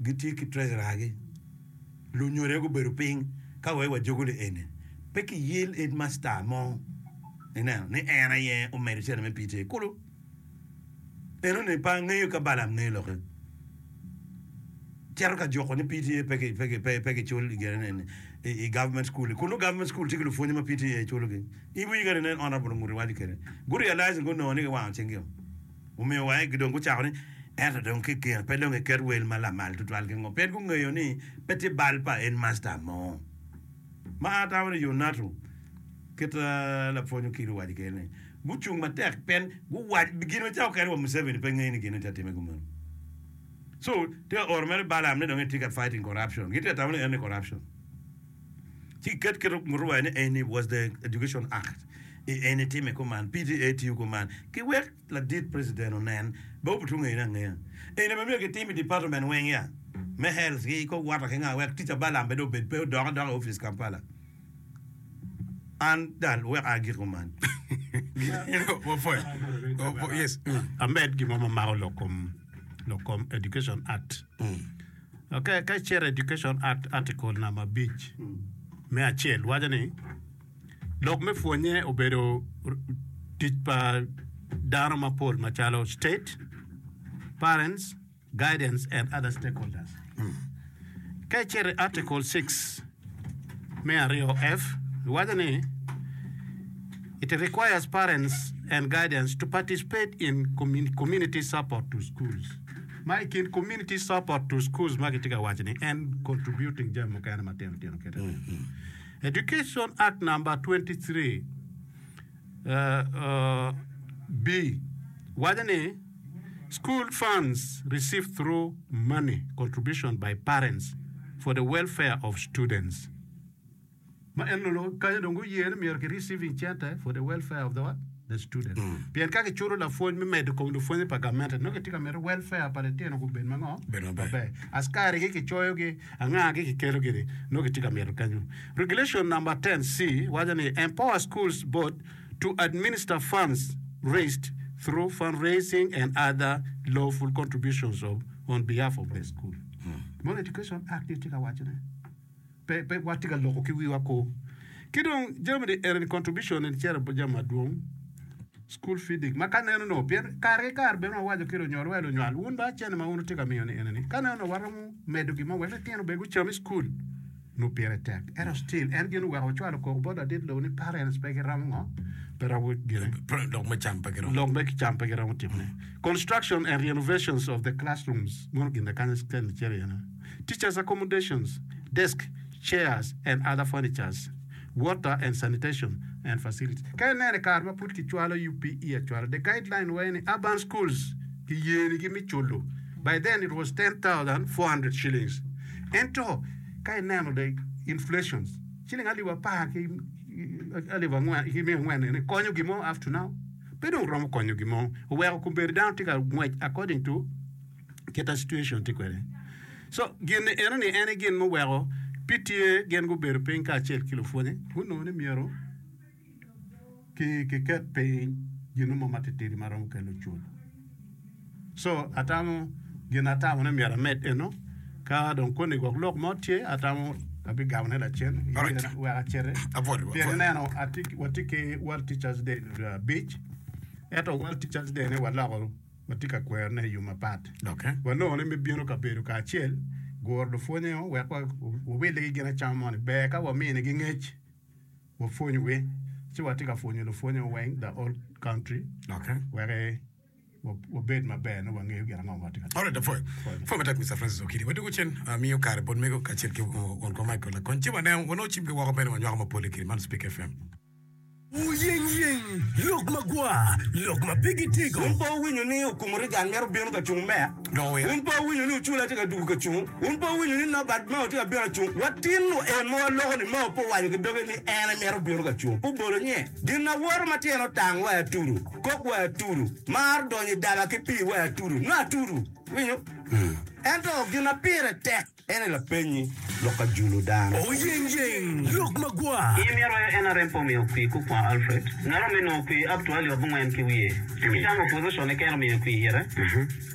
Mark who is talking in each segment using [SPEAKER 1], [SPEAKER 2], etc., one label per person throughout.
[SPEAKER 1] gitye ki treasurer gi, lunyodo aye gubedo piny ka wek wajogo li eni. Pe kiyel headmaster mo ineno ni en aye omedo cente me PTA kulu. Enoni pe angeyo ka Balaam ngeyo lokke. Cito ka juko ni PTA pe kicul i gine ni i government school. Kun nongo government school tye ki lupwonye ma PTA culogi. In winyo kadi nen Honourable Onguti waco kwede. Gu realize gunongo ni giwango cinggi o. Omiyo wa dong gucako ni ento dong ki kine pe dong iket wel ma lamal tutwal ki ngo. Pien gungeyo ni pe tye bal pa headmaster mo. Ma atamo ni Yonatu kit lapwony Okil owaco kwede ni gucung matek pien guwaco gin ma cawa okene wa Museveni pe ngeyo ni gin tye ka timme kumeno. So tye ka oro mere Balaam ni dong etye ka fighting corruption. Gitye ka tamo ni en ni corruption. Ci ket kit ngutu wa ni eni was the education act. I eni time kuman, PTA tiyo kuman. Ki wek ladit president onen, be obutu ngeyone angeya. Eni be myero kitim i department weng ya, me health ki kor water ki nga wek tic pa Balaam bene obed pe odok adoka i office Kampala. An dal wek agik kuman.
[SPEAKER 2] Yes.
[SPEAKER 3] Amed gin mo ma mako lok kom lok kom Education Act. Ok, ka icito i Education Act Article namba abic me acel waco ni lok me pwonye obedo tic pa dano mapol macalo state, parents, guidance and other stakeholders. Ka icito i Article 6 me aryo F, iwaco ni it requires parents and guidance to participate in community support to schools. Ma i kin community support to schools ma kitye ka waco ni en contributing jami mukene matino tino kite. Education Act number 23 uh, uh, B waco ni School funds received through money contribution by parents for the welfare of students. Ma en onongo kanyo dong guye ni myero ki receiving cente for the welfare of the what? The student. Pien ka kiculo lapwony me medo kom lupwonye pa gamente nongo kitye ka mito welfare pa litino gubed ma ngo?
[SPEAKER 2] Bed maber.
[SPEAKER 3] Askari gi kicoyo gi, anga gi kikelo gini nongo kitye ka mito kenyo. Regulation number 10C waco ni empower schools board to administer funds raised through fundraising and other lawful contributions of on behalf of the school. Mono Education Act ni tye ka wacone. Pe, pe watye ka loko ki wiwa ko. Ki dong jami ni eni contribution ni cito bot jami madwong. School feeding ma ka neno nongo pien kare ki kare bene wawaco ki lunywal wa lunywal wun ba cene ma wun wutye ka miyo ni eni ni ka neno nongo waromo medo gin mo wek litino bene gucam i school. Nongo pire tek ento still en gin oweko wacwalo koko bot ladit lobo ni parents pe giromo ngo pe romo gine
[SPEAKER 2] Lok me cam pe giromo.
[SPEAKER 3] lok me cam pe giromo timone. Construction and renovations of the classrooms mono gin kany cito iye no. Teachers accommodations, desk, chairs and other furnitures, water and sanitation and facilities. Ka ineno i kare ma pud kicwalo UPE acwala, the guideline were ni urban schools kiyenigi me culo. By then it was 10,400 shillings. Ento ka ineno the inflations, ciling alip apar ki alip angwen ki miya angwen eni konyo gin mo up to now? Pe dong romo konyo gin mo. Oweko kombeddi dano tye ka ngwec according to kit ma situation tye kwede. So gin ni eno ni en aye gin muweko PTA gin gubedo piny kacel ki lupwonye gunongo ni myero ki kiket piny gin mo matitidi ma romo kelo cul. So atamo gin atamo ni myero amed eno ka dong koni gwok lok mo tye atamo abigamone lacen
[SPEAKER 2] Alright.
[SPEAKER 3] wek aciti
[SPEAKER 2] Apwoyo,
[SPEAKER 3] pien
[SPEAKER 2] apwoyo.
[SPEAKER 3] ineno atye watye ki World Teachers Day abic ento World Teachers Day ni waloko Watye ka kwerone i yo mapat. Wanongo ni me bino ka bedo kacel, guro lupwonye-o wek wawilligi gin acama moni, ber ka waminigi ngec, wapwonyogi. Ci watye ka pwonyo lupwonye-o weng, the whole country, wek wabed maber nongo wangeyo gin ango ma watye ka timo.
[SPEAKER 2] Alright, apwoyo. Pwoyo matek Mister Francis Okidi. Wadwogo cen, amiyo kare bot mego kacel ki won kom Michael Lakony. Ci waneno, wanongo cimgi woko bene wanywako mapol i kine. Man Speak FM.
[SPEAKER 4] Wuyeng yeng, lok magwar, lok ma pe gitego.
[SPEAKER 1] Wun pe wuwinyo ni Okumu Reagan mito bino ka cung meya? Wun pe wuwinyo ni Ocula tye ka dwogo ka cung? Wun pe wuwinyo ni Norbert Mao tye ka bino ka cung? Watin en ma waloko ni Mao pe owaco ki doge ni en aye mito bino ka cung. Pe obolo nye. Gin awoto ma tyene otang wa i atudu, kok wa i atudu, mar donyo i daba ki pii wa i atudu. Nongo atudu. Iwinyo?
[SPEAKER 5] Ento gin ma pire tek en aye lapennyi lok ka julo dano.
[SPEAKER 4] Oyengyeng lok magwar.
[SPEAKER 6] In myero aye NRM pe omiyo kwir kukwa Alfred. Ngat omi nongo kwir up to alip abongwen ki wiye. Itamo opposition keken omiyo kwir ite?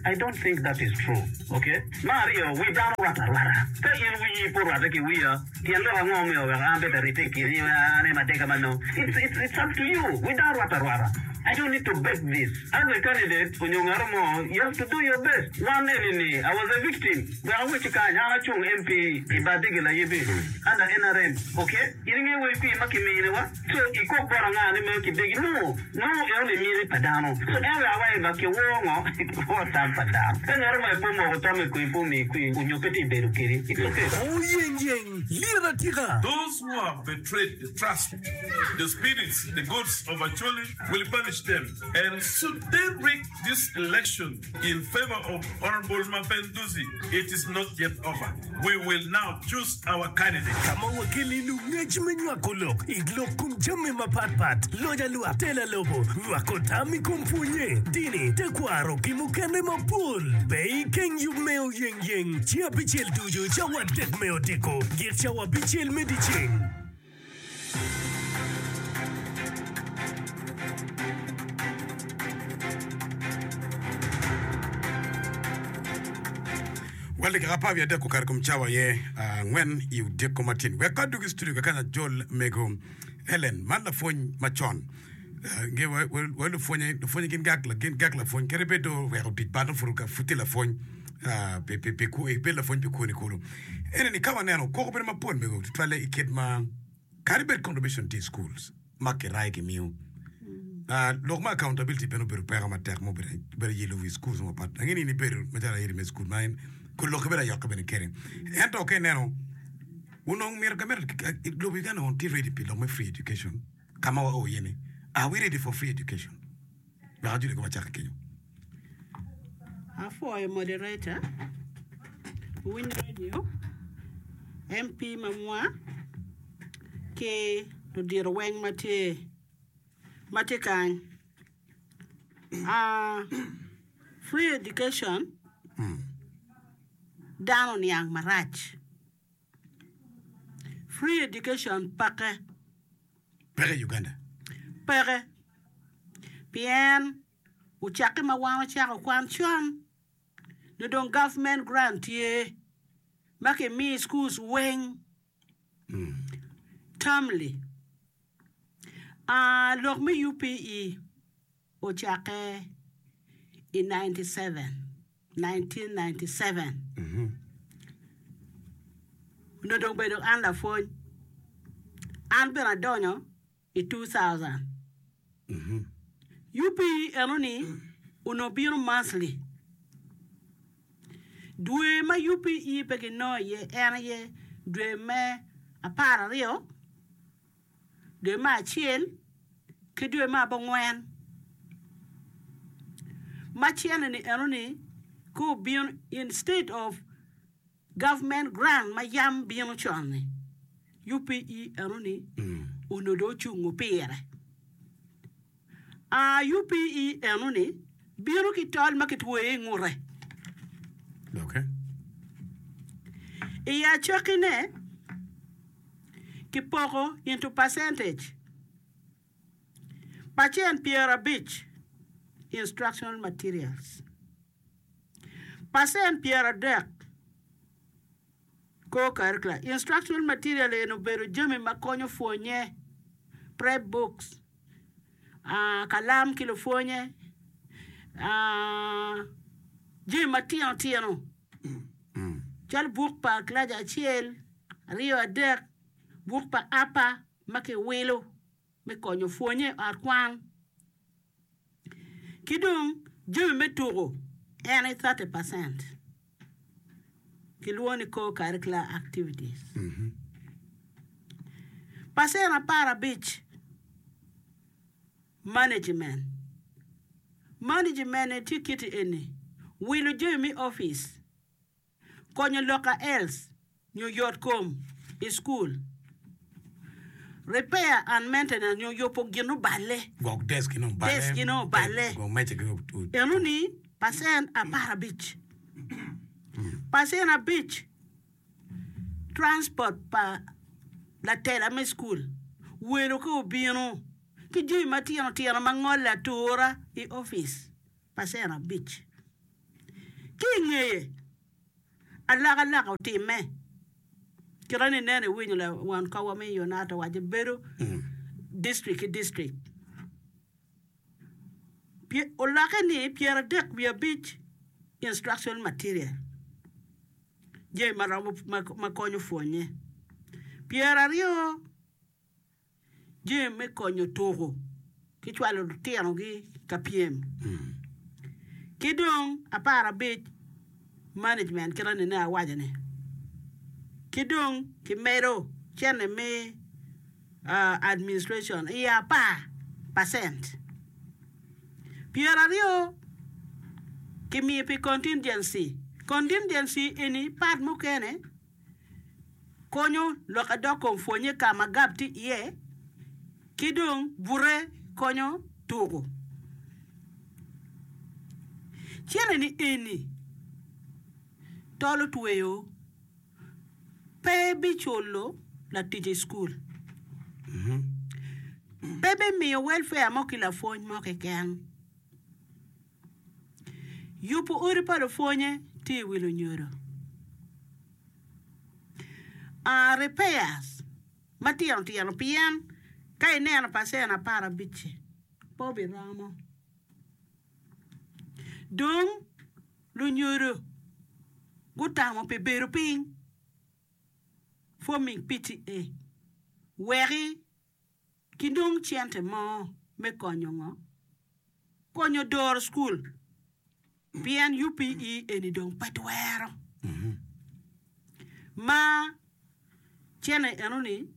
[SPEAKER 6] I don't think that is true. Ok. Me aryo, wi dano rwatte arwata. Ka in wiyi pe orwatte ki wiya, tyen lok ango omiyo weko an bed aribbe i kini an aye madega ma nongo? It's, it's, it's up to you. Wi dano rwatte arwata. I don't need to beg this. As a candidate onyo ngato mo, you have to do your best. Wan eni ni, I was a victim. Wek awecci kany, an acung MP i bar Digil Ayibi under NRM. Ok? In ingeyo wel kwir ma kimine wa? So ikok bot anga ni meno kidegi? No! Nongo eno ni miti pa dano. So en wek awaci ba kiwor ngo? Kiwor tam pa dano. Ka ngato mo aye pe omoko tamme kwir pe omiyi kwir onyo pe tye bedo kedi, it's okay.
[SPEAKER 4] Oyengyeng lyet atika.
[SPEAKER 7] Those who have betrayed the trust, the spirits, the gods of Acholi will punish them and should they rig this election in favour of Honourable Mapenduzi, it is not yet over. We will now choose our candidate.
[SPEAKER 4] Ka ma wakeli lungec me nywako lok i lok kom jami mapat pat, loc alwak, tela lobo, nywako tam i kom pwonye, dini, tekwaro ki mukene mapol. Pe ikeng yub me oyengyeng ceng abicel ducu cawa adek me odiko gik cawa abicel me dyeceng.
[SPEAKER 2] Wel dakika apar wiye adek okato kom cawa aye angwen i odiko matyen. Wek adug i studio kakany ajol mego Helen man lapwony macon. Nge wa lupwonye, lupwonye gin gak gin gak lapwony kadi bed dong oweko tic bad nongo pud tye lapwony pi pi pi kwo ibed lapwony pi kwoni kulu. Ene ni ka waneno koko bedo mapol mego tutwalle i kit ma kadi bed contribution tye i schools ma kirayo kimiyo lok me accountability bene obedo peko matek ma obedo obedo yelo wi schools mapat. Ange ni in ibedo macalo airi me school ma en kun lokke bedo ayokke bene kede ento ka ineno onongo myero gamente lobo Uganda onongo tye ready pi lok me free education. Ka ma wao iye ni, Are we ready for free education? Wek ajoli kong wacak ki kenyo.
[SPEAKER 8] Apwoyo moderator, Winyo Radio, MP mamwa ki ludito weng ma tye ma tye kany. Ah, free education dano oniang marac. Free education peke.
[SPEAKER 2] Peke i Uganda?
[SPEAKER 8] Peke. Pien ocakke ma wan wacako kwan con nyo dong government grant tye ma kimiyo i schools weng termly. Lok me UPE ocakke i 1997. Onongo dong bedo an lapwony. An bene adonyo i 2000. UPE enoni onongo bino monthly. Dwe ma UPE pe ginongo iye en aye dwe me 12. dwe me acel ki dwe me abongwen. Ma cene-ni enoni ka obino instead of government grant ma yam bino con-ni, UPE enoni onongo dong ocungo pire. Aa UPE enoni bino ki tol ma kitweyo i ngute. I acakkine, kipoko into percentage, pacent pyerabic instructional materials, pacent pyeradek Co-curricular instructional material eni obedo jami ma konyo pwonye, prep books, kalam ki lupwonye, jami matino tino calo buk pa kilaci acel, aryo, adek, buk pa apa ma kiwilo me konyo pwonye i ot kwan. Ki dong jami me tuko en aye 30 percent kilwongo ni co-curricular activities. Pacen aparabic management, management-ni tye kiti eni, wilo jami me opic. Konyo lok a els nyo yot kom i cukul. Repair and maintenance nyo yubo gin oballe.
[SPEAKER 2] Gwok desk gi nongo oballe.
[SPEAKER 8] Desk gi nongo oballe.
[SPEAKER 2] Gwok meja gi
[SPEAKER 8] Eno ni pacent aparabic. Pacen abic, transport pa latela me cukul, welo ka obino, ki jami matino tino ma ngole atura i opic, pacen abic. Ki i ngeye, alokaloka otimme. Kite ni nen iwinyo lawon kowa me Unata owaco bedo district ki district. Olokke ni 35 instructional material, jami ma romo ma konyo pwonye, 20 jami me konyo tuku ki cwalo lutinogi ka pyem, ki dong 15 management kit ma nene awaco ni, ki dong kimedo cente me administration i apar pacent. 20 kimiyo pi contingency, contingency eni part mukene konyo lok adok kom pwonye ka ma gap tye iye ki dong bute konyo tuku. Cente ni eni tolo tweyo. Pe biculo latic i cukul. Pe bimiyo welfare mo ki lapwony mo keken. Yubo odi pa lupwonye tye i wi lunyodo. Repairs matino tino pien ka ineno pacen aparabic-ci pe obiromo. Dong Lunyodo gutamo pi bedo piny, forming PTA, weki kinong cente mo me konyo ngo? Konyo doro cukul pien UPE eni dong pe twero. Ma cente enoni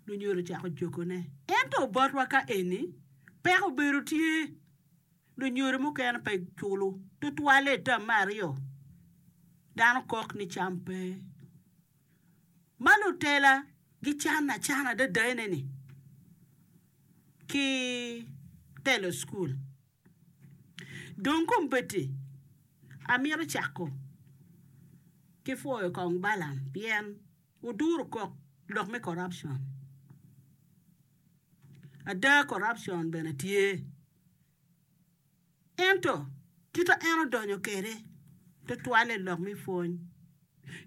[SPEAKER 8] lunyodo ocako jogone. Ento botwa ka eni peko obedo tye. Lunyodo mukene pe giculo tutwalle i tam me aryo. Dano kok ni cam pe. Ma lutela gican acana adada ene-ni ki telo cukul. Dong kombeddi amito cako ki pwoyo kong Balaam pien oduro kok lok me corruption. Ada corruption bene tye. Ento, kit ma en odonyo kwede tutwalle i lok me pwony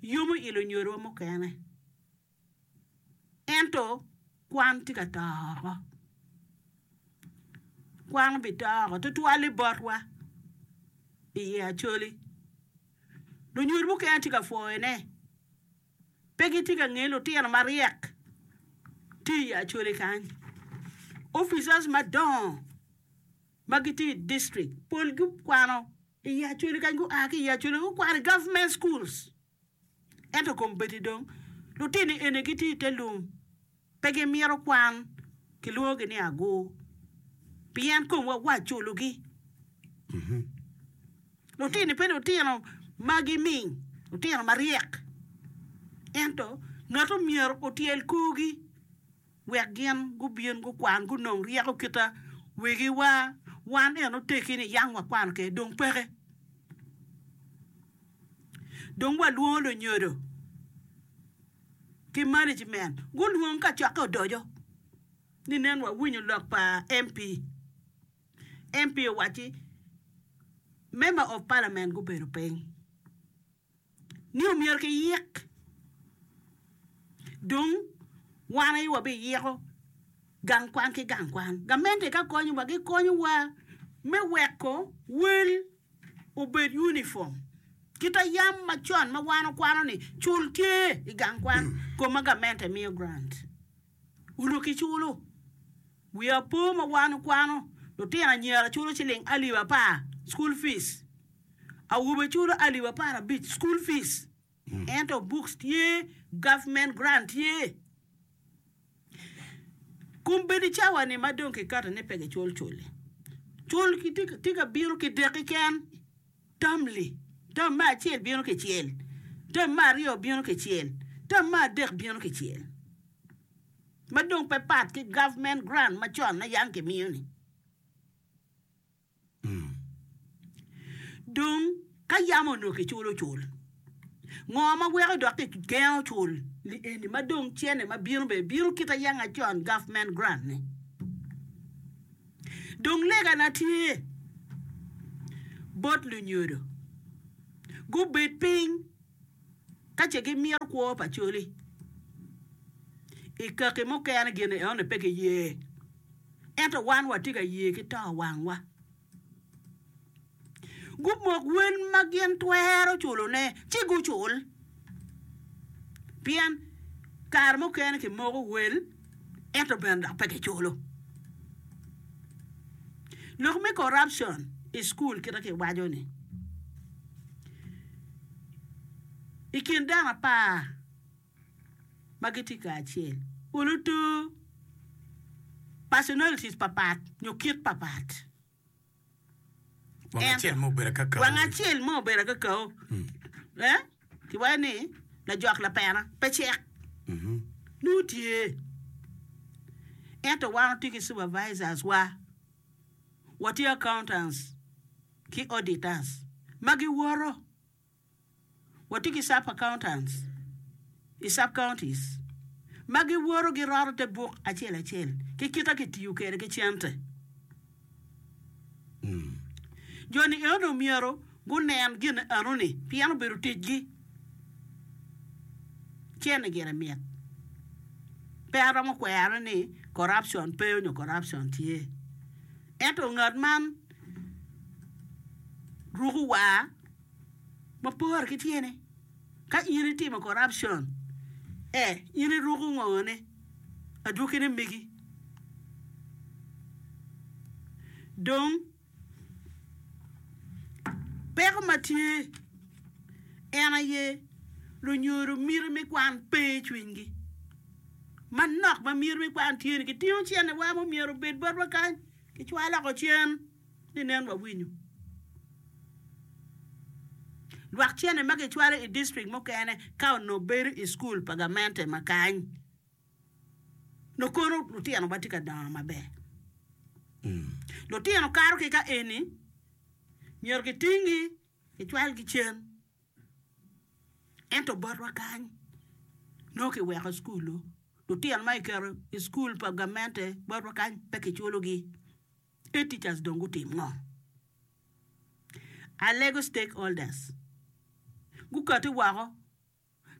[SPEAKER 8] yomo i lunyodowa mukene. Ento, kwan tye ka to woko. Kwan obito woko tutwalle botwa i Acholi. Lunyodo mukene tye ka pwoyone. Pe gitye ka ngeyo lutino maryek tye i Acholi kany. Officers madongo ma gitye i district pol gukwano i Acholi kany, gua ki i Acholi gukwano i government schools. Ento kombeddi dong lutini eni gitye i te lum pe gimito kwan kilwongogi ni agur pien komwa waculogi. Lutini pe lutino ma giming, lutino maryek. Ento ngat omyero otyel korgi wek gin gubin gukwan gunong ryeko kita wegiwa wan en oteggi ni yang wakwano kwede dong peke. Dong walwongo lunyodo ki management gulwong kacokke odoco ni nen wawinyo lok pa MP. MP owacci Member of Parliament gubedo piny ni omyero kiyik dong wan aye wabiyiko gang kwan ki gang kwan. Gamente ka konyowa gikonyowa me weko wel obed uniform kita yam macon ma wan okwano ni cul tye i gang kwan koma gamente miyo grant onongo kiculo. Wiya po ma wan okwano, lutino anyira culo ciling alip apar, school fees, awobe culo alip aparabic, school fees, ento books tye, government grant tye. Kombeddi cawa ni ma dong kikato ni pe gicul cul-li, cul tye ka bino kidek keken, termly, term me acel bino kicel, term me aryo bino kicel, term me adek bino kicel. ma dong pe pat ki government grant macon ma yam kimiyo ni. Dong ka yam onongo kiculo cul. Ngo ma weko dok kigengo cul li eni ma dong cene ma bino bene bino kit ayanga con government grant ni? Dong lega na tye bot lunyodo gubed piny ka ce gimito kwo pa coli i kaki mukene gin enoni pe giye ento wan watye ka ye ki to wangwa. Gumok wel ma gin twero culone, ci gucul. Pien kare mukene kimoko wel, ento bene dok pe kiculo. Lok me corruption i cukul kit ma kiwaco-ni, i kin dano apar ma gitye kacel, olo to personalities papat nyo kit papat.
[SPEAKER 2] Wang acel mo obedo akakao.
[SPEAKER 8] Wang acel mo obedo akakao. Eh? Kiwaco ni lajok lapena pe cek. Nongo tye. Ento wan watye ki supervisors wa, watye accountants ki auditors ma giwoto. Watye ki sub accountants i sub counties ma giwoto giroto te buk acel acel ki kita kitiyo kwede ki cente. Jo-ni eno myero gunen gin enoni pien obedo ticgi. Cente gire mit. Pe aromo kwerone ni corruption pe nyo corruption tye. Ento ngat man ruko war ma pore ki tyene. Ka in itimo corruption, ee, in iruko ngone, adwogine megi. Dong, peko ma tye en aye lunyodo miti me kwan pe i cwinygi. Manok ma miti me kwan tye ni kitingo cenewa ma myero obed botwa kany, kicwalo oko cen. Ni nen wawinyo lwak cene ma kicwalo i distrik mukene ka onongo bedo i cukul pa gamente ma kany nongo kono lutino wa tye ka dongo maber. Lutino kato ki ka eni myero kitingi kicwalgi cen ento botwa kany nongo kiweko cukul-lu lutino ma kiketo i cukul pa gamente botwa kany pe kiculogi. Head teachers dong gutim ngo? Alego stakeholders gukati woko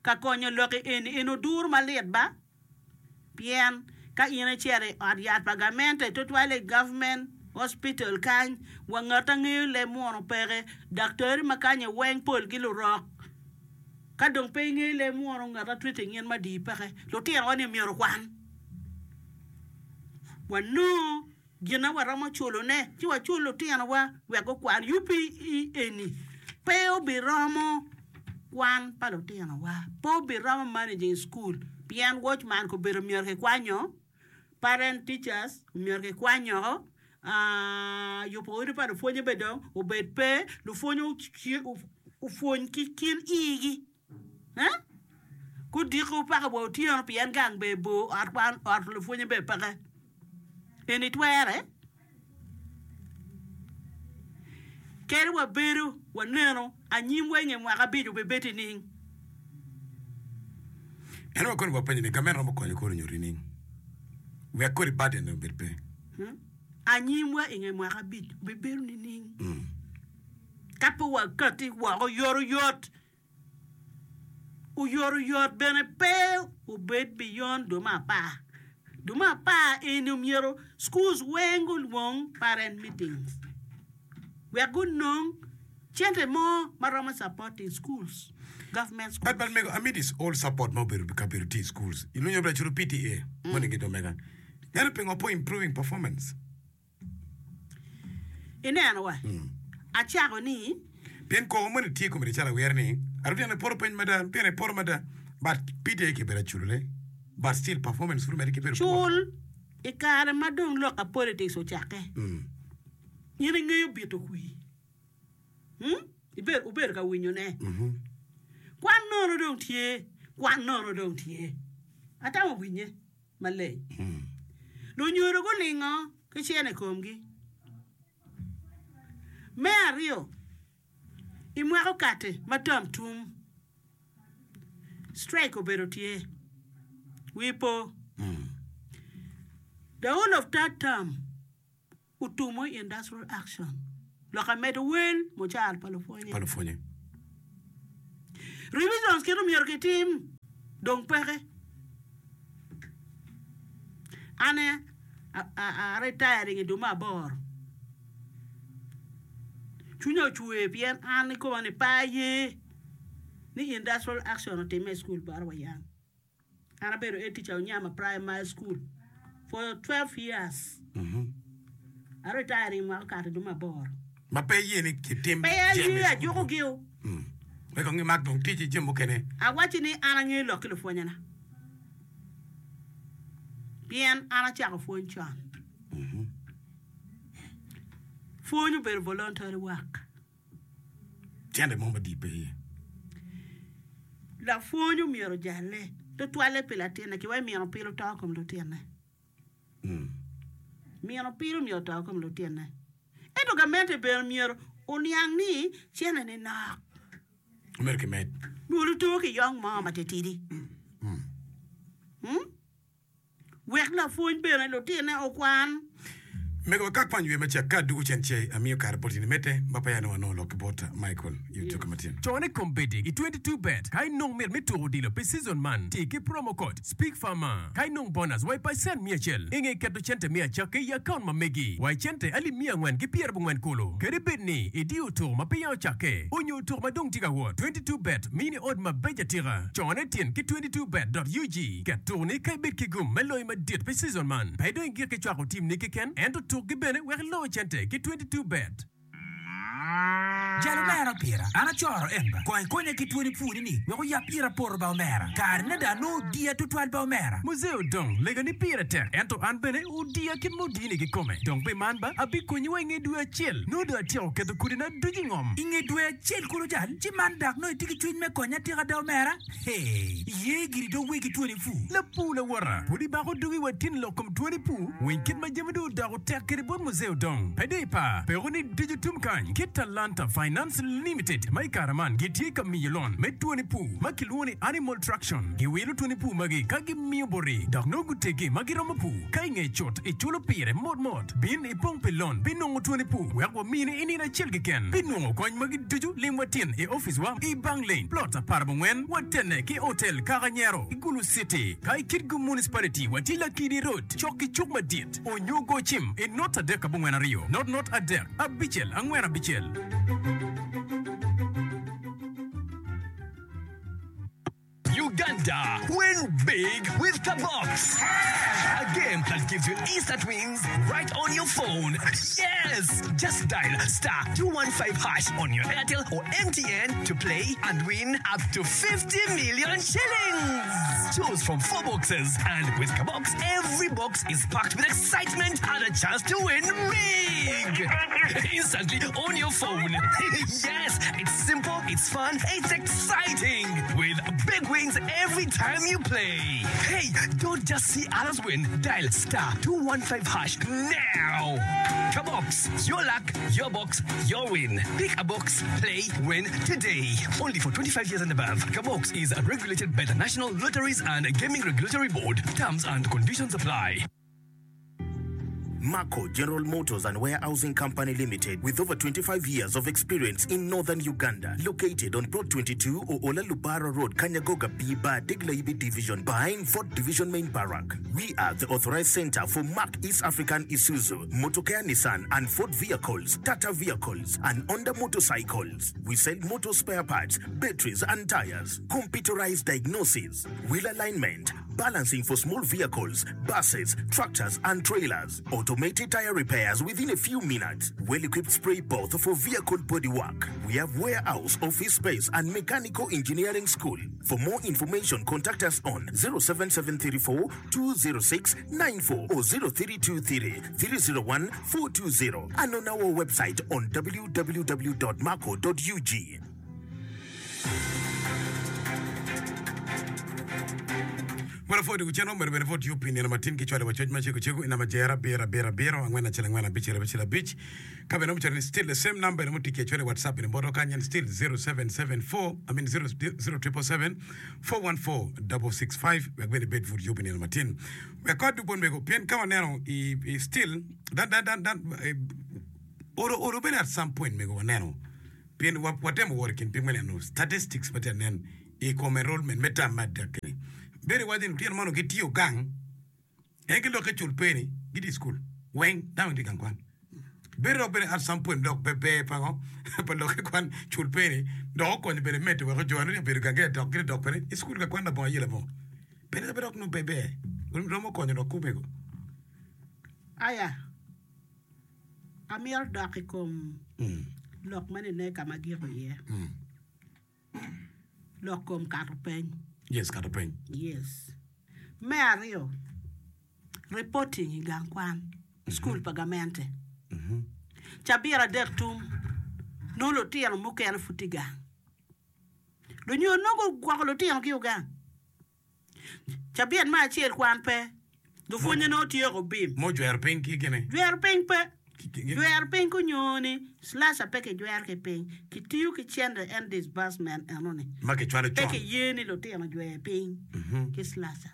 [SPEAKER 8] ka konyo lok i eni, eni oduru malit ba pien ka in icito i ot yat pa gamente tutwale i government hospital kany wa ngat a ngeyo leb munu peke, daktari ma kany weng polgi lurok ka dong pe ingeyo leb munu ngat a treating in madii peke lutino wa ni myero okwan wanongo Gin ma waromo culone, ci wacul lutinowa wek gukwan. UPE eni pe obiromo kwan pa lutinowa, pe obiromo managing school pien watchman kobedo myero kikwanyo, parent teachers myero kikwanyo, yubo odi pa lupwonye bene dong obed pe, lupwonye opwony ki kin igi. Gudiko paka wa otyeno pien gang bene bor, ot kwan, ot lupwonye bene peke. Eni twere? Kadi wabedo waneno anyimwa i nge mwaka abic obibed nining?
[SPEAKER 2] En wa koni wapenyo ni gamente romo konyo kor onyuti nining wek kodi burden ni obed pe?
[SPEAKER 8] Anyimwa i nge mwaka abic obibedo nining? Ka pe wakati woko oyotoyot, oyotoyot bene pe obed beyond dwe me apar. Dwe me apar eni omyero schools weng gulwong parent meetings wek gunong cente mo ma romo supporting schools, government schools.
[SPEAKER 2] But but mego amid is all support ma obedo kabedo tye i schools ilunyo bene culu PTA moni gin omega ento pingo pe improving performance?
[SPEAKER 8] Ineno wa, acako ni.
[SPEAKER 2] Pien koko moni tye i kome calo awira ni, Lutino poto piny mada, lutino ipoto mada, but PTA kibedo aculone, but still performance pud omedde ki bedo poor.
[SPEAKER 8] Cul i kare ma dong lok a politics ocakke, in ingeyo bito kwir, ibedo ka winyone, kwan nono dong tye, kwan nono dong tye, atamo winye. maleng. Lunyodo gulingo ki cene i komgi. Me aryo, i mwaka okati ma tam tum. Strike obedo tye. Wii po. The whole of third term otumo i industrial action. Lok amedo wel mucara pa lupwonye.
[SPEAKER 2] Pa lupwonye.
[SPEAKER 8] Revisions kit omyero kitim dong peke. An a retiring i dwe me aboro. Cwinya ocwer pien an ikoma ni pe aye ni industrial action otimme i cukul bota wa yang. An abedo head teacher Onyama Primary School for 12 years. A retiring mwaka okato i dwe me aboro.
[SPEAKER 2] Ma pe iye ni kitim
[SPEAKER 8] Pe
[SPEAKER 2] jami
[SPEAKER 8] aye ajuko gio.
[SPEAKER 2] Wek kong imak dong tic i jami mukene.
[SPEAKER 8] Awacci ni an angeyo lok ki lupwonyena. Pien an acako pwony con. Pwony obedo voluntary work.
[SPEAKER 2] Cente mo madit pe iye.
[SPEAKER 8] Lapwony omyero ojalle tutwalle pi latinne ki wek mino pil oto kom lutinne. Mino pil myero oto kom lutinne. Ento gamente bene myero oniang ni cente ni nok.
[SPEAKER 2] Myero kimed.
[SPEAKER 8] Myero oto ki yong mo matitidi. Wek lapwony bene lutinne okwan.
[SPEAKER 2] Mego wa ka kwany wiye me cek ka adugo cen ce amiyo kare bot in imedde ma peya nongo anongo lok ki bot Michael i odiko matin.
[SPEAKER 9] Cone kombeddi i 22 bet ka inong mit me tuko odilo pi season man, ti ki promo code SPEAKFARMER ka inong bonus wa i pacent miya acel inge keto cente me acakki i akaunt ma megi wa i cente alip miya angwen ki pyerabongwen kulu. Kadi bed ni idiyo tuko ma peya ocakke onyo tuko ma dong tye ka wot, 22 bet mini ot mabeco atika. Cone tyen ki 22 bet dot ug. Ket tukoni ka ibed ki gum me loyo madit pi season man. Pe dong igik ki cwako tim ni keken, ento tukgi bene wek ilo cente ki 22 bet.
[SPEAKER 10] Jal omera pira, an acoro en ba. Kong ikonya ki twoni puni ni wek oyab ira poto ba omera. Kare ne da nongo odiya tutwal ba omera.
[SPEAKER 9] Muzee Odong, lega ni pire tek, ento an bene odiya kit ma odini kikome. Dong pi man ba, abikonyi wa inge dwe acel. Nongo dong atyeko keto kodina ducu i ngom.
[SPEAKER 10] Inge dwe acel kulu jal, ci man dak nongo itye ki cwiny me konya atika da omera? Hee, iye giri dog wegi twoni pur.
[SPEAKER 9] Lapur lawota, pud ibako dogi wa tin lok kom twoni pur? Winy kit ma jami dong odoko tek kwede bot Muzee Odong. Pe dong ipar, peko ni ducu tum kany ki Talanta Finance Limited ma i kare man gitye ka miyo lon me twoni pur ma kilwongo ni Animal Traction. Giwilo twoni pur magi ka gimiyo boti dok nongo gutegi ma giromo pur. Ka inge cut iculo pire mot mot. Bin ipong pi lon pi nongo twoni pur wek wamini i nino acel keken. Pi nongo kony magi ducu lim wa tin i opic wa i Bang Lane, Plot aparabongwen, watene ki Hotel Kaka Nyero i Gulu City. Ka i Kitgum Municipality watye Lakidi Road cok ki cuk madit onyo go cim i not 3 82 not not 3 5 4 5.
[SPEAKER 11] Uganda, win big with Kabox! A game that gives you instant wins right on your phone. Yes! Just dial star 215 hash on your Airtel or MTN to play and win up to 50 million shillings. Choose from four boxes, and with Kabox, every box is packed with excitement and a chance to win big. Instantly on your phone. yes, it's simple, it's fun, it's exciting. With big wins every time you play. Hey, don't just see others win. Dial star 215 hash now. Kabox, your luck, your box, your win. Pick a box, play, win today. Only for 25 years and above. Kabox is regulated by the National Lotteries and Gaming Regulatory Board. Terms and conditions apply.
[SPEAKER 12] Mako General Motors and Warehousing Company Limited with over 25 years of experience in Northern Uganda located on Plot 22 Oola Lubara Road Kanyagoga B-Bar Degla-Ibi Division behind Fort Division Main Barrack. We are the authorized center for Mack East African Isuzu, Motocare Nissan and Ford vehicles, Tata vehicles and Honda motorcycles. We sell motor spare parts, batteries and tires, computerized diagnosis, wheel alignment, balancing for small vehicles, buses, tractors and trailers, automated tire repairs within a few minutes, well-equipped spray booth for vehicle body work. We have warehouse, office space and mechanical engineering school. For more information contact us on 07734 206 94 or 0323 301 420 and on our website on www.maco.ug.
[SPEAKER 2] Wan apwoyo dwogo cen omyero bene pwod yub pi nino matin ki cwalo wa coc ma cego cego i namba jero abiro abiro abiro angwen acel angwen abicel abicel abic ka bene romo cwalo ni still the same number romo tic ki acwala i whatsapp bene botwa kany en still 0774 I mean 0777 414 665 wek bene ibed pud yub i nino matin wek ka adug bot mego pien ka waneno i, i still dan dan dan dan eh, olo olo bene at some point mego waneno pien wa, watemo wot i kin piny me neno statistics ma tye anen i kom enrollment me tam me adek-ki-ni. Bedo iwaco ni lutino man onongo gitiyo gang, en ki lokke cul pe ni gitye i cukul weng dano gitye i gang kwan. Bedo dok bene at some point dok pe ber pa ngo pa lokke kwan cul pe ni dok okonyo bene medde weko jo eno obedo gang gitye dok gitye dok bene i cukul ka kwan labongo ayela mo. Bene dok nongo pe ber romo konyo dok kumego.
[SPEAKER 8] Aya, amito dok i kom lok ma nene ka ma agiko iye. Lok kom kato peny.
[SPEAKER 2] Yes, kato peny.
[SPEAKER 8] Yes. Me aryo, reporting i gang kwan, cukul pa gamente. Cabit adek tum, nongo lutino mukene pud tye gang. Lunyodo nongo gugwoko lutino ki gang. Cabit me acel kwan pe, lupwonye nongo tyeko bim.
[SPEAKER 2] Mo jwero piny ki gini.
[SPEAKER 8] Jwero piny pe. Jwero piny kunyo ni slasher pe kijwero ki piny. Kitiyo ki cente en disbursement eno ni.
[SPEAKER 2] Ma kicwalo
[SPEAKER 8] Pe
[SPEAKER 2] con.
[SPEAKER 8] kiye ni lutino jwer piny ki slasher.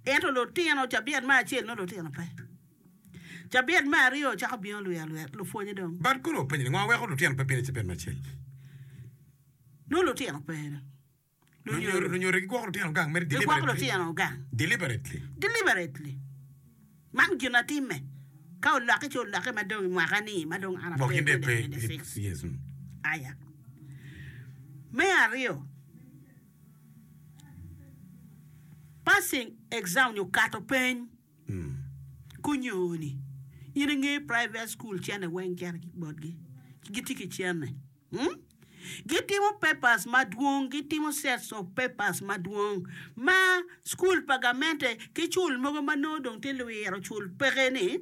[SPEAKER 8] Ento lutino cabit me acel nongo lutino pe. Cabit me aryo cako bino lwir alwira lupwonye dong.
[SPEAKER 2] But kono openyo ni ngo weko lutino pe bino i cabit me acel?
[SPEAKER 8] Nongo lutino pe.
[SPEAKER 2] Lunyodo lunyodo gigwoko lutino gang mere
[SPEAKER 8] Gigwoko
[SPEAKER 2] deliberately.
[SPEAKER 8] lutino gang.
[SPEAKER 2] Deliberately.
[SPEAKER 8] Deliberately. Man gin atimme. Ka olokke ci olokke ma dong i mwaka ni ma dong an
[SPEAKER 2] Gwok
[SPEAKER 8] ape
[SPEAKER 2] in dong ipe.
[SPEAKER 8] 2026.
[SPEAKER 2] Yes. mm.
[SPEAKER 8] Aya. Me aryo, passing exam nyo kato peny kunyoni. In ingeyo private school cene weng cito botgi. Gitye ki cene. Gitimo papers madwong, gitimo sets of papers madwong ma cukul pa gamente ki cul mogo ma nongo dong tye lwiro cul peke ni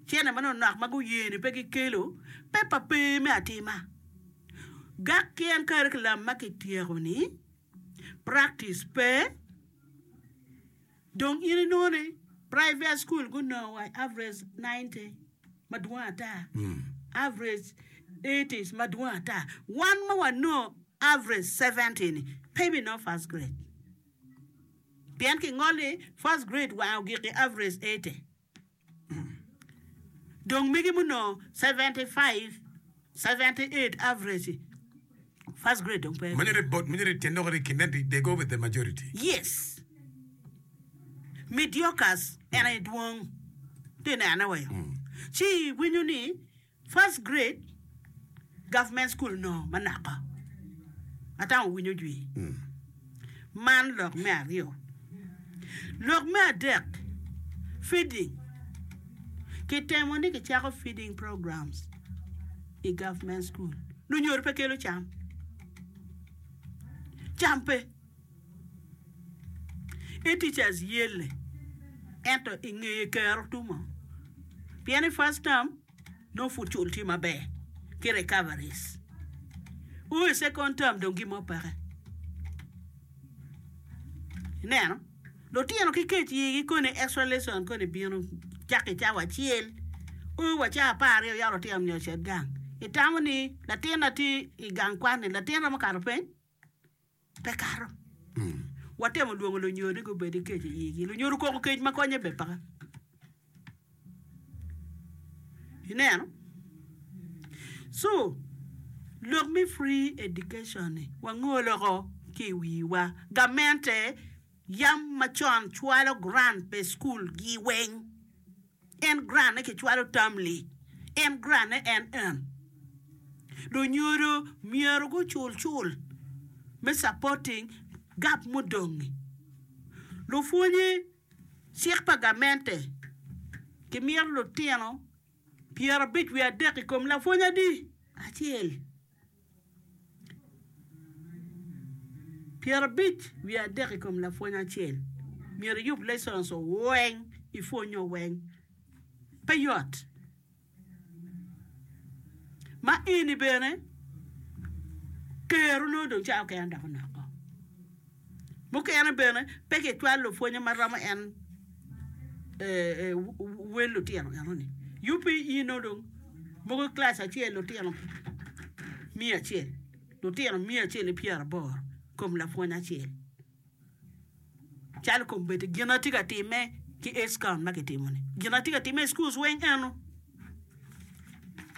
[SPEAKER 8] cene manok nok ma guye ni pe gikelo paper pe me atima. Gak ki en curriculum ma kityeko ni practice pe Dong in inongo ni private school gunongo wa average 90 madwong ata, average 80s madwong ata. Wan ma wanongo average 70 ni pe binongo first grade. Pien kingol ni first grade wange ogik i average 80. Dong megi munongo 75, 78 average first grade dong pe.
[SPEAKER 2] Manyo bot manyo tyen lok ni kinen they go with the majority.
[SPEAKER 8] Yes. Mediocres en aye dwong. Tye nene wa yo. Ci iwinyo ni First grade government school onongo manoko atamo winyo jwi man lok me aryo lok me adek feeding kitemo ni kicako feeding programs i government school lunyodo pe kelo cam cam pe I teachers yelle ento i ngeye kero tumo pien i first term nongo pud cul tye maber ki recoveries o i second term dong gin mo peke ineno lutino ki kec igi koni extra lesson koni bino cako i cawa acel o wa cawa 12 yako lutino myero ocit gang itamo ni latin na tye i gang kwan ni latin romo kato peny? Pe kato. Watemo lwongo lunyodo ni gubed ki kec i igi. Lunyodo koko kec ma konye bene peke. Ineno? So, lok me free education ni wangolo oko ki i wiwa. Gamente yam macon cwalo grant pi cukul gi weng. En grant ne kicwalo termly. En grant ne en en. Lunyodo myero gucul cul me supporting gap mudong-ngi. Lupwonye cik pa gamente kimito lutino 50 wiye adek i kom lapwony adi? Acel. 53 i kom lapwony acel myero iyub lessons weng ipwonyo weng pe yot ma eni bene kero nongo dong cawa kene dok onoko. Mukene bene pe kicwalo lupwonye ma romo en wel lutino enoni. UPE nongo dong mogo kilac acel lutino miya acel, lutino miya acel ki pyeraboro kom lapwony acel. Calo kombeddi gin ma tye ka timme ki age count ma kitimo-ni, gin ma tye ka timme i schools weng eno.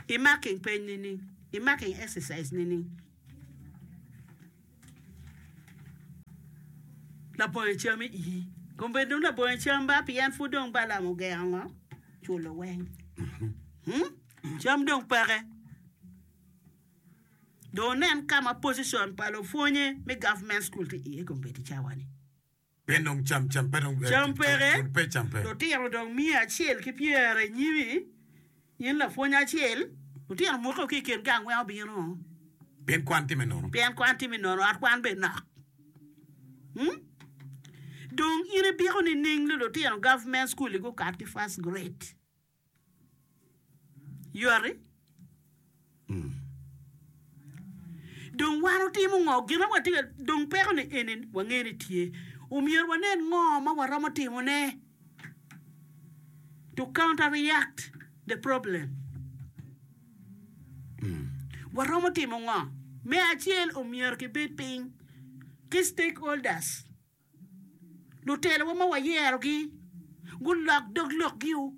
[SPEAKER 8] I marking peny nining? I marking exercise nining? Labongo cam i ii. Kombeddi dong labongo cam ba pien pud dong Balaam ogengo ngo? Culo weng. Hmm? Cam dong peke. Dong wunen ka ma position pa lupwonye me government school tye iye kombeddi cawa-ni.
[SPEAKER 2] Pien dong cam cam pe dong
[SPEAKER 8] Cam peke,
[SPEAKER 2] cul pe cam pe.
[SPEAKER 8] lutino dong miya acel ki pyere i nyimi, in lapwony acel, lutino muke ki i kin gang weng obino.
[SPEAKER 2] Pien kwan tye me nono.
[SPEAKER 8] Pien kwan tye me nono, ot kwan bene nok. Hmm? Dong in ibiko nining ni lutino government school-li gukat ki first grade? Yoti. Dong wan otimo ngo? Gin ma watye ka dong peko ni eni wange ni tye. Omyero wanen ngo ma waromo timone to counter react the problem. Waromo timo ngo? Me acel omyero kibed piny ki stakeholders. Lutelowa ma wayerogi gulok dog lokgi-u.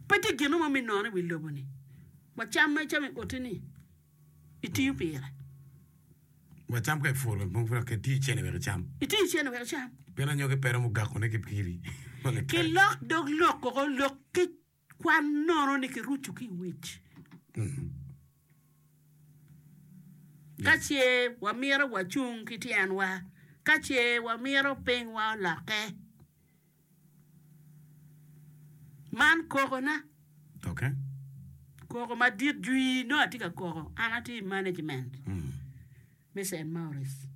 [SPEAKER 8] Pe tye gin mo me nono i wi lobo-ni. Wa cam ma icamo i oti-ni, itiyo pire.
[SPEAKER 2] Wa cam ka ipuro bene pud dok itiyo cene wek icam.
[SPEAKER 8] Itiyo cene wek icam.
[SPEAKER 2] Pien anyogi pe romo gakone ki piri.
[SPEAKER 8] Kilok dog lok woko, lok ki Kwan nono ni kiruco ki i wic. Ka ce wamito wacung ki tyenwa, ka ce wamito pinywa olokke. Man kokona.
[SPEAKER 2] Okay.
[SPEAKER 8] Koko madit jwi nongo atye ka koko. An atye i management me St. Maurice.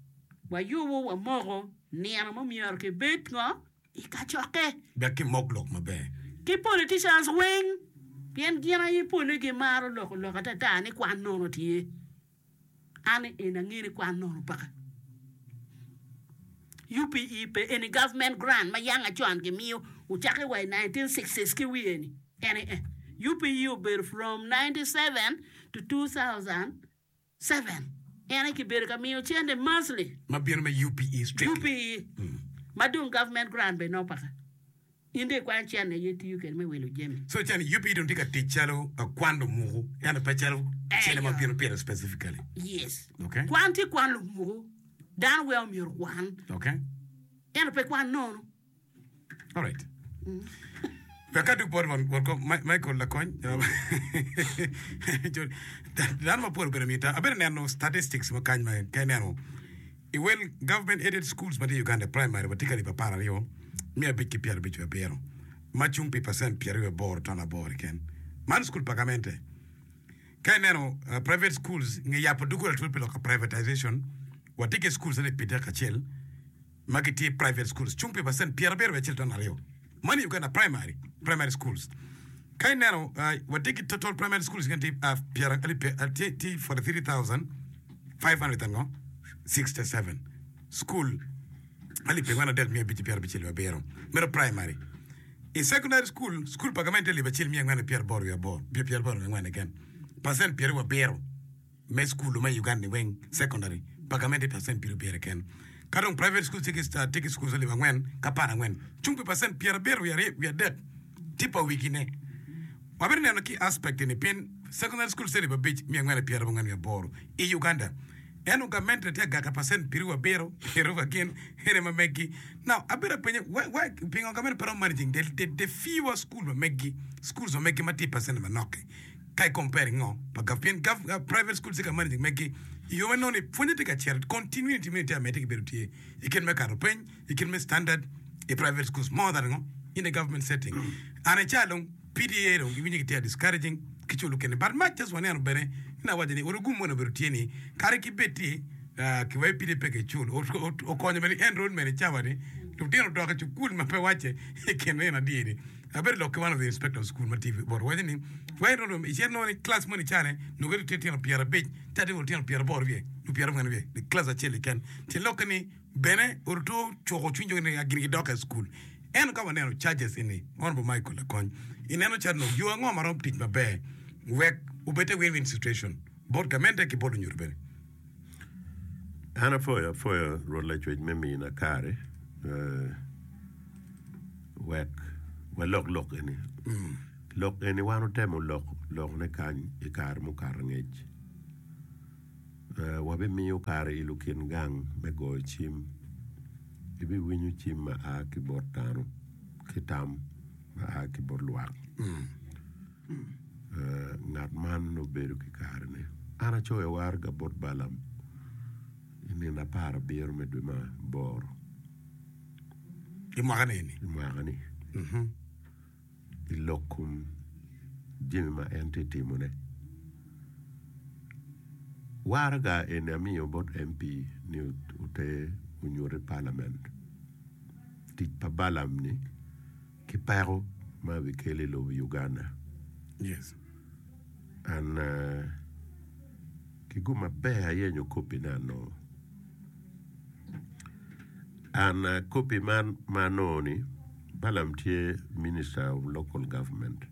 [SPEAKER 8] Wayubo wamoko nino ma myero kibed ngo? I kacokke.
[SPEAKER 2] Wek kimok lok maber.
[SPEAKER 8] Ki politicians weng pien gin aye pole gimaro loko lok atata ni kwan nono tye. An eni angeyo ni kwan nono peke. UPE pe eni government grant ma yang acon gimiyo ocake wa i 1960s ki wiye ni en aye. UPE obedo from 97 to 2000. Seven, En aye kibedo ka miyo cente monthly.
[SPEAKER 2] Ma bino me UPE strictly.
[SPEAKER 8] UPE. Ma dong government grant bene nongo peke. In dong ikwanyo cente aye itiyo kwede me wilo jami.
[SPEAKER 2] So cente UPE dong tye ka tic calo kwan lumuku ento pe calo cente ma bino pire specifically.
[SPEAKER 8] Yes.
[SPEAKER 2] Okay.
[SPEAKER 8] Kwan tye kwan lumuku. Dano weng omyero okwan.
[SPEAKER 2] Okay.
[SPEAKER 8] Ento pe kwan nono.
[SPEAKER 2] Alright. Wek adug bot won won kom Michael Lakony. Dano mapol obedo mita. Abedo neno statistics ma kany ma ka ineno i wel government aided schools ma tye i Uganda primary watye ka alip 12 557 ma cung pi percent 28.8 keken. Man school pa gamente. Ka ineno private schools nge yabo doggola twal pi lok privatization watye ki schools alip 31 ma gitye i private schools cung pi pacent 71.2 man i Uganda primary primary schools. Ka ineno watye ki total primary schools gin tye pyera alip tye tye 43,567 school 43,557 meno primary. I secondary school, school pa gamente alip acel miya angwen ki pyeraboro wiye aboro pyeraboro wiye angwen keken pacent pyeraryo abiro. me cukul ma i Uganda ni weng secondary pa gamente percent pyerabiro keken ka dong private schools tye ki schools alip angwen ki aparangwen cung pi percent pyerabiro wiye adek tye pa wigi ne. Wabino neno ki aspect ni pien secondary schools tye alip abic miya angwen ki pyerabongwen wiye aboro i Uganda ento gamente tye agaka percent pyeraryo abiro pyeraryo gin ene ma meggi now abedo apenye why pingo gamente pe romo managing the fewer school ma meggi schools ma meggi ma tye i percent manok-ki. Ka i compare ngo pa gov pien gov private school tye ka managing megi i yo ma nongo ni pwonye tye ka cito continuity meno tye amedde ki bedo tye i kit me kato peny i kit me standard i private schools more than ngo in a government setting and i ca dong PTA dong giwinyo gitye ka discouraging ki culo kene but much as waneno bene ina awaco ni orugum moni obedo tye ni kadi ki bed ti ki wai PTA pe ki cul okonyo bene enrollment i cawa ni. Lutino odok i cukul ma pe wacce i kin nino adi-ni. Abedo lok ki one of the inspector of school ma tye bot waco ni wai romo icit nongo ni class moni cane nongo tye tino 50 ca tye lutino 80 wiye nyo 90 wiye i class acel keken. Tyen lokke ni bene oruto cuko cwiny jo ni gin gidok i school. Ento ka waneno charges eni Honourable Michael Lakony ineno calo nongo yo ango ma romo tic maber wek obed te win-win situation bot gamente ki bot lunyodo bene.
[SPEAKER 13] An apwoyo apwoyo Rwot Lacwec me mina kare wek walok lok eni. Lok eni wan otemo lok lokne kany i kare mukato angec. Wabimiyo kare i lukin gang me goyo cim. Ibiwinyo cim ma a ki bot dano ki tam ma a ki bot lwak. Ngat man obedo ki karene. An acoyo waraga bot Balaam i nino aparabiro me dwe me aboro.
[SPEAKER 2] I mwaka-ni?
[SPEAKER 13] I mwaka-ni. I lok kom jami ma en tye ka timone. Waraga eni amiyo bot MP ni oter onyut i palament. Tic pa Balaam-ni. ki peko ma bikelo i lobo Uganda.
[SPEAKER 2] Yes.
[SPEAKER 13] And ki gum maber ayenyo kopi ne anongo. And kopi man ma anongo ni Balaam tye minister of local government.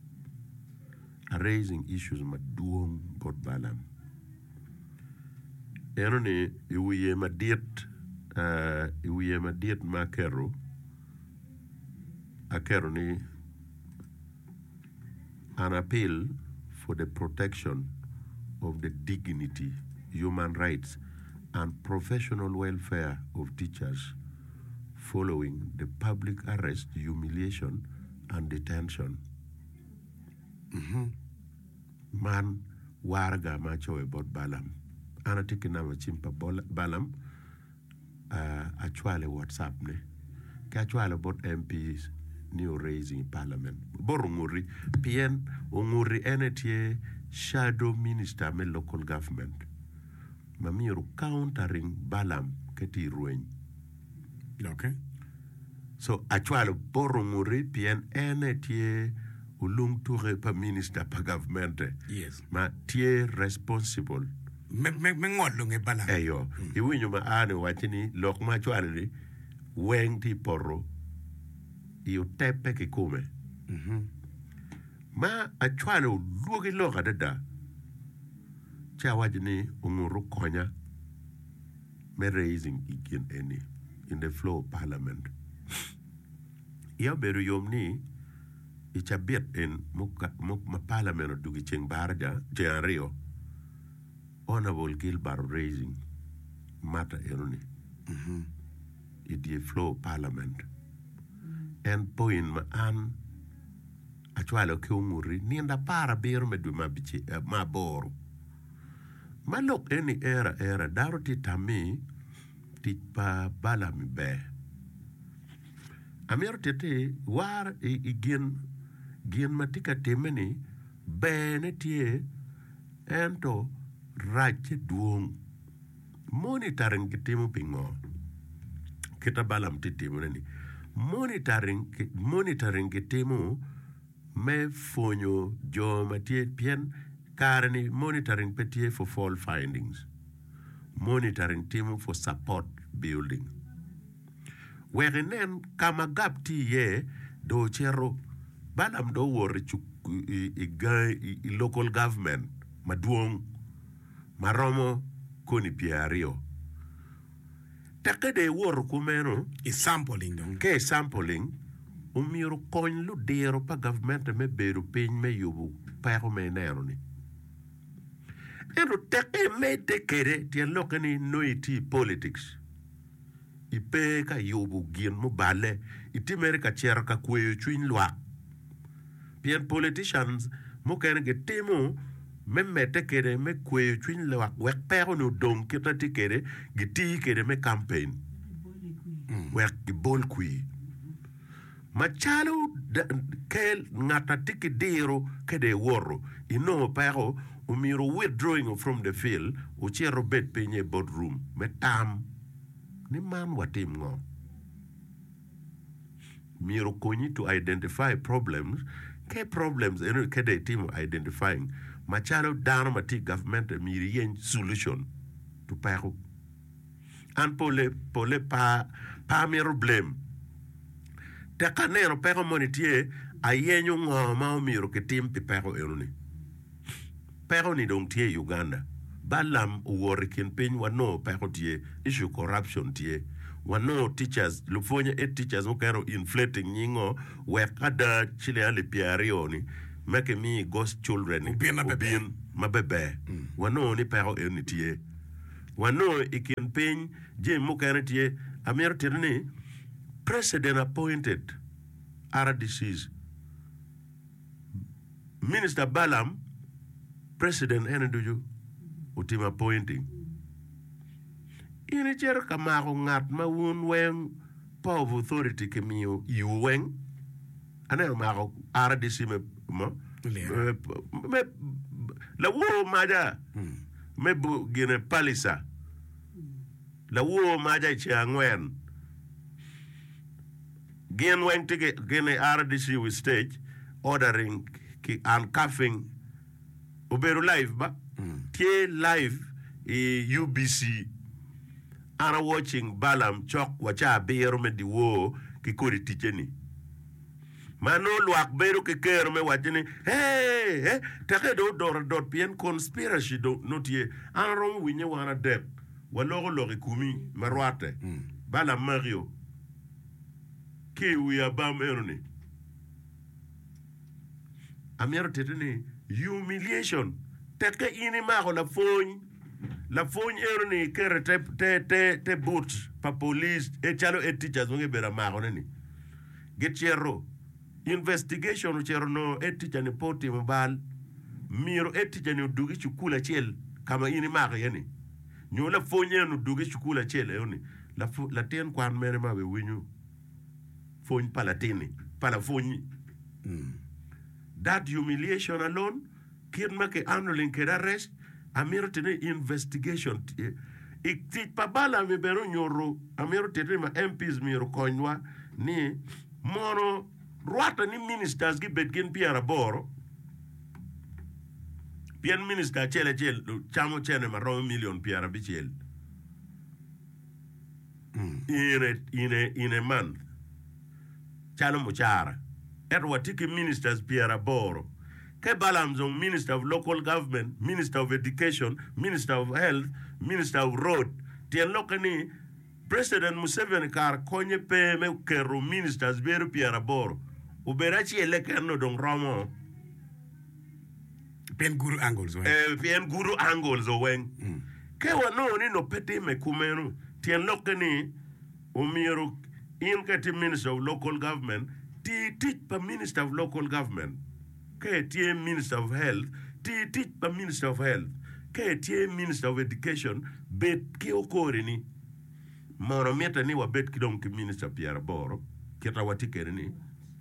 [SPEAKER 13] A raising issues madwong bot Balaam. Eno ni i wiye madit, i wiye madit ma aketo Aketo ni An appeal for the protection of the dignity, human rights and professional welfare of teachers following the public arrest, humiliation and detention. Man waraga ma acoyo bot Balaam. An atye ki namba cim pa Balaam. Acwalo i WhatsApp ne ki acwalo bot MPs ni o raising i parliament bot Onguti pien Onguti en aye tye shadow minister me local government ma myero countering Balaam ka tye i rweny. So acwalo bot Onguti pien en aye tye olung tuke pa minister pa gavmente ma tye responsible.
[SPEAKER 2] Me ngolo nge Balaam.
[SPEAKER 13] Eyo, iwinyo ma a-ni owacci ni lok ma acwalo-ni weng tye i poto i oteppe kikome. Ma acwalo olwogi lok adada, ci awaco ni ongut okonya me raising i gin eni in the floor of parliament. Iya obedo yom ni i cabit en ma parliament odwogo i ceng baraja ceng aryo, Honourable Gilbert Oraising matter eno ni i dye floor of parliament. En point ma an acwalo ki onguti nino aparabiro me dwe me aboro. Ma lok eni ero aera dano tye tammi tic pa Balaam ber. Amito titti war i gin gin ma tye ka timme-ni berne tye ento racce dwong. Monitoring kitimo pingo? Kita Balaam tye timone-ni monitoring monitoring kitimo me pwonyo jo ma tye pien kare-ni monitoring pe tye for fault findings monitoring timo for support building. Wek inen ka ma gap tye iye, dong ocito. Balaam dong owoto i gangi i local government madwong ma romo koni pyeraryo. Tekke dong iwoto kumeno,
[SPEAKER 2] I sampling dong.
[SPEAKER 13] Ka i sampling, omyero okony ludiro pa gavmente me bedo piny me yubo peko ma ineno-ni. Ento tekke imedde kwede, tyen lokke ni nongo itye i politics. Ipe ka yubo gin muballe, itye mere ka cito ka kweyo cwiny lwak. Pien politicians mukene gitimo me medde kwede me kweyo cwiny lwak wek peko-ni odong kit ma tye kwede, giti kwede me campaign wek gibol kwir. Macalo kel ngat a tye ki diro ka dong iwoto inongo peko, omyero wu withdrawing from the field wucit wubed piny i board room me tam ni man watim ngo. Myero okonyi to identify problems, ke problems eno ka dong itimo identifying macalo dano ma tye i gavmente myero iyeny solution to peko. An pole pole pa pe amito blame tek ka aneno peko moni tye ayenyo ngo ma omyero kitim pi peko eno ni. Peko ni dong tye i Uganda. Balaam owoto i kin piny wanongo peko tye, issue corruption tye. Wanongo teachers, lupwonye head teachers mukene o inflating nyingo wek ada ciling alip pyeraryo ni me kimi i ghost children ni obin maberber. Wanongo ni peko eno ni tye. Wanongo i kin piny jami mukene tye. Amito tito ni president appointed RDCs. Minister Balaam, President ene ducu otimo appointing. In icito ka mako ngat ma wun weng power of authority kimiyo iwu weng? Aneno mako RDC me me lawor maca me gine Palisa lawor maca i ceng angwen. Gin weng tye ki gin i RDC with stage ordering ki uncuffing obedo live ba tye live i UBC an a watching Balaam cok wa ca abiro me dyewor ki kodi ticce ni ma nongo lwak bedo ki kero me wacce ni hey eh teke dong odot adot pien conspiracy dong nongo tye an aromo winye wan adek waloko lok i komi ma rwatte Balaam makio. Ki i wi abam eno-ni, amito titi ni humiliation tekke in imako lapwony, lapwony eno-ni iketo i te but pa police calo head teachers ma gibedo amakone-ni gicito investigation ocito onongo head teacher ni pe otimo bal myero head teacher ni odug i cukul acel ka ma in imako iye-ni. Nyo lapwony en odwogo i cukul acel eno ni, Latin kwan mene ma biwinyo pwony pa latinni, pa lapwony-nyi? That humiliation alone, kit ma ki handling kwede arrest, amito tite ni investigation tye. I tic pa Balaam-mi bene onyuto, amito tite ni ma MPs myero okonywa ni mono rwatte ni ministers gibed gin pyeraboro, Pien minista acel acel camo cente ma romo milion pyerabicel in a month calo mucara. Ento watye ki ministers pyeraboro. Ka Balaam dong minister of local government, minister of education, minister of health, minister of road, tyen lokke ni President Museveni kara konye pe me keto ministers bedo pyeraboro, obedo acel keken nongo dong romo.
[SPEAKER 2] Pien gudo angles weng.
[SPEAKER 13] Eh, pien gudo angles o weng. Ka wanongo ni nongo pe timme kumeno, tyen lokke ni omyero in ka itye Minister of Local Government, ti tic pa Minister of Local Government. Ka itye Minister of Health, ti tic pa Minister of Health. Ka itye Minister of Education, bed ki okorini. Mono mitte ni wabed ki dong ki Minister pyeraboro kita watye kwede ni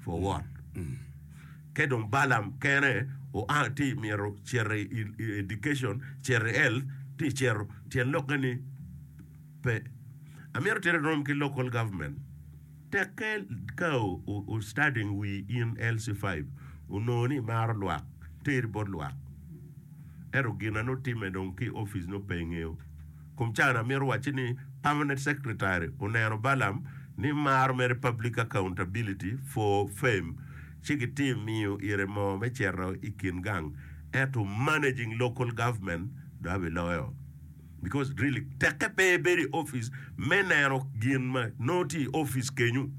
[SPEAKER 13] for what? Ka dong Balaam kene oa ti myero cito i education, cito i health, ti cito tyen lokke ni pe. Amito tite rom ki local government tekke ka o studying wi in LC5 onongo ni imaro lwak teri bot lwak ento gin na nongo time dong ki i office nongo pe ingeyo. Kom caa-ni amito wacci ni Permanent Secretary oneno Balaam ni maro mere public accountability for fame ci gitye miyo ire moo me cito i kin gang ento managing local government dong abiloyo because really tekke pe ibedo i office me neno gin ma nongo tye i office kenyo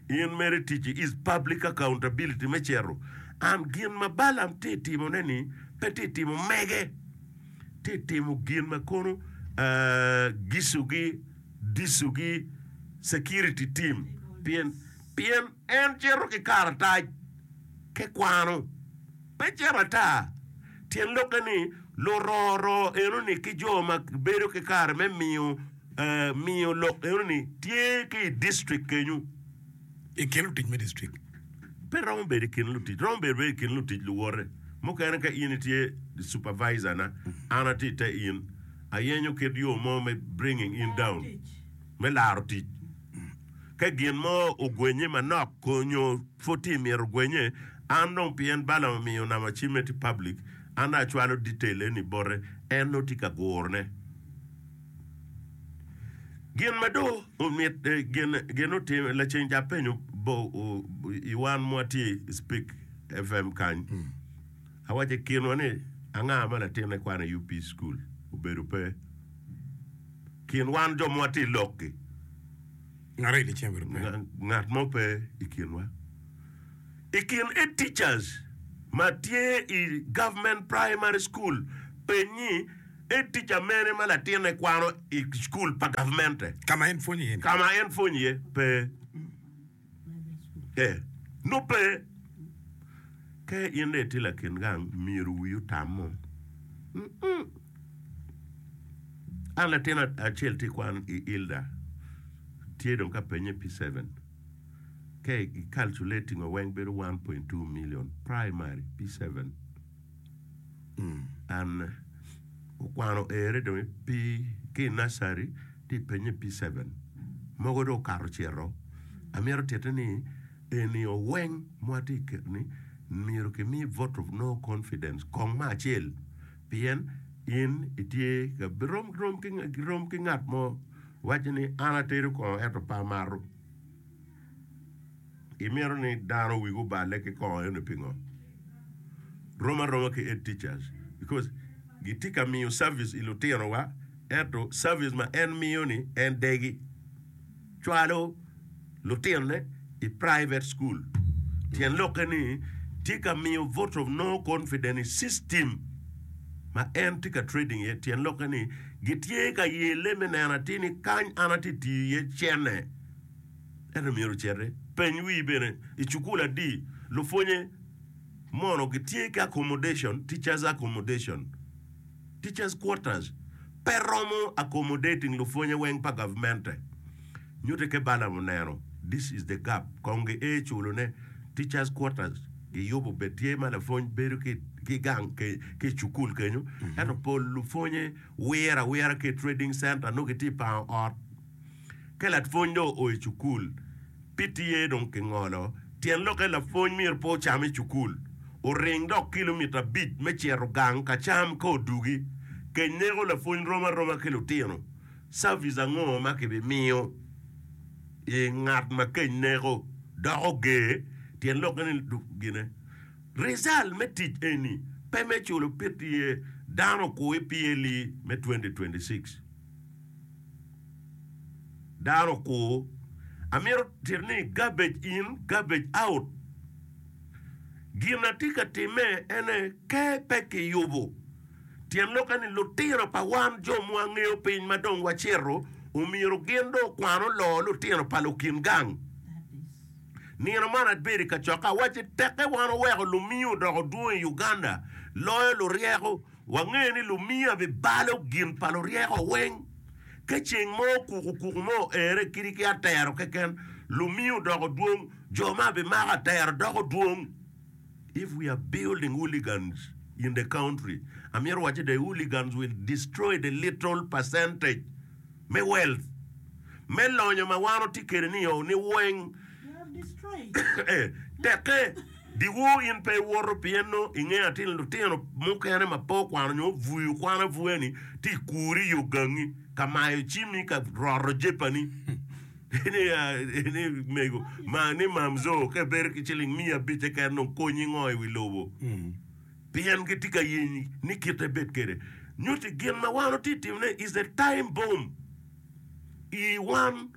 [SPEAKER 13] in mere ticci is public accountability me cito and gin ma Balaam tye timone ni pe tye timo mege. tye timo gin ma kono gicogi, dicogi, security team pien pien en cito ki karatac ke kwano pe cito ata tyen lokke ni luroro enoni ki jo ma bedo ki kare me miyo miyo lok enoni tye ki i district kenyo.
[SPEAKER 2] I kin lutic me distrik.
[SPEAKER 13] Pe romo bedo i kin lutic, romo bedo bene i kin lutic luwote mukene. Ka in itye supervisor na, an atye i te in, ayenyo kit yo mo me bringing in down, me laro tic. Ka gin mo ogwenye manok nyo pud tye mito gwenye, an dong pien Balaam omiyo namba cimme tye public, an dong acwalo detail eni bote, en nongo tye ka gurone. Gin ma dong omit gin gin otime laceng ca apenyo bo i wan ma watye i Speak FM kany, awaco i kinwa ni anga ma latinne kwano i UP school obedo pe. Kin wan jo ma watye i lok-ki, ngat mo pe i kinwa. I kin head teachers ma tye i government primary school, peny ni head teacher mene ma latinne kwano i cukul pa gavmente?
[SPEAKER 2] Ka ma en pwonyo iye-ni.
[SPEAKER 13] Ka ma en pwonyo iye pe. Ee, nongo pe. Ka in dong itye lakin gang, myero wii otam mo. An latin acel tye kwan i Ilda, tye dong ka penye P7. Ka i calculating wa weng bedo 1.2 million primary P7. And okwano ere dong i P ki i nursery tye i penye P7. Mogo dong okato cito. Amito tite ni eni oweng ma watye i keto ni myero kimi vote of no confidence kong me acel. Pien in itye ka rom rom ki rom ki ngat mo waco ni an atedo kongo ento pe amato. Imito ni dano wigi oballe ki kongo eno pingo? Rom aroma ki head teachers because gitye ka miyo service i lutinowa ento service ma en miyo ni en degi. Cwalo lutinone i private school tyen lokke ni tye ka miyo vote of no confidence i system ma en tye ka trading iye tyen lokke ni gitye ka yelle me neno atir ni kany an atye tiyo iye cene ento myero ociti peny wii bene i cukul adi lupwonye mono gitye ki accommodation teachers accommodation. Teachers quarters pe romo accommodating lupwonye weng pa gavmente. Nyute ke Balaam oneno this is the gap kong gi ee culo ne teachers quarters giyubo bed tye ma lapwony bedo ki ki gang ki i cukul kenyo ento pol lupwonye wiro awira ki i trading center nongo gitye i pango ot. Ka lapwony dong oo i cukul, PTA dong kingolo. Tyen lokke lapwony myero pe ocam i cukul, oring dok kilomita abic me cito gang ka cam ka odugi. Keny neko lapwony rom aroma ki lutino. Service ango ma kibimiyo i ngat ma keny neko dok oger? Tyen lokke ni gine. Result me tic eni pe me culo PTA dano okur i PLE me 2026. Dano okur. Amito tito ni garbage in, garbage out. Gin na tye ka timme ene ke pe kiyubo. Tyen lokke ni lutino pa wan jo ma wangeyo piny ma dong wacito omyero gin dong okwan oloo lutino pa lukin gang. Nino man abedo i kacokke awacci tekke wan oweko lumiyo odoko dwong i Uganda loyo luryeko. Wangeyo ni lumiya bibalo gin pa luryeko weng. Ka ceng mo kukukuku mo oere kadi ki atero keken, lumiya odoko dwong, jo ma bimako atero doko dwong. If we are building hooligans in the country, amito wacci the hooligans will destroy the little percentage me wealth, me lonyo ma wan watye kwede ni-o ni weng. Tekke. Dyewor in pe iwoto pien nongo ingeyo atir ni lutino mukene ma pe okwano nyo obuyo kwan abuya-ni tye i kuri i yo gangi ka mayo cimmi ka roto jepani ni mego ma ni mamzo ka ibedo ki ciling miya abic keken dong konyi ngo i wi lobo pien gitye ka yenyi ni kite bed kwede nyutti gin ma wan watye ka timone is a time bomb i wan.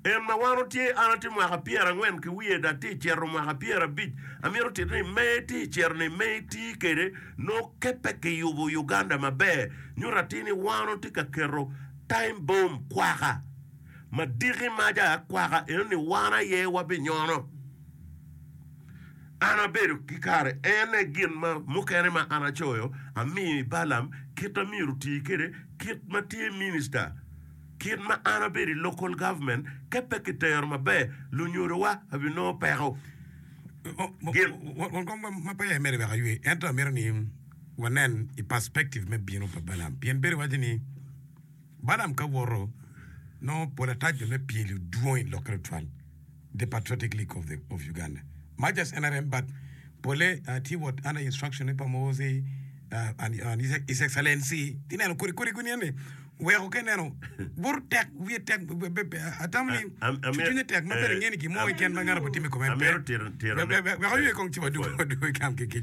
[SPEAKER 13] En ma wan otye, an atye mwaka pyerangwen ki wiye dok atye cito mwaka pyerabic, amito tito ni me itye cito ni me iti kwede nongo ke pe kiyubo Uganda maber. Nyuto atir ni wan watye ka keto time bomb kwaka ma diki maca kwaka eno ni wan aye wabinyono. An abedo ki kare en aye gin ma mukene ma an acoyo amiyo i Balaam kit ma myero oti kwede kit ma tye minista. Kit ma an abedo i local government ka pe kitero maber lunyodowa abinongo peko. Gin.
[SPEAKER 2] Won kom ma peya imedo wek aywe, ento amito ni wanen i perspective me bino pa Balaam. Pien bedo iwaco ni Balaam ka woto nongo pol atac jo me pyeli dwong i lokke tutwal. The Patriotic League of, the, of Uganda. Much as NRM, but pole uh, tye what under instruction pa Muhoozi uh, and, and His, His Excellency. Ti neno kodi kodi kuni eni weko ke neno buto tek wiye tek atamo ni cwinye tek ma bedo ngeni gin mo keken ma ngano botime i kome pe.
[SPEAKER 13] Amito tito tito
[SPEAKER 2] Wek aywe kong ci wadwogo kam ki kic.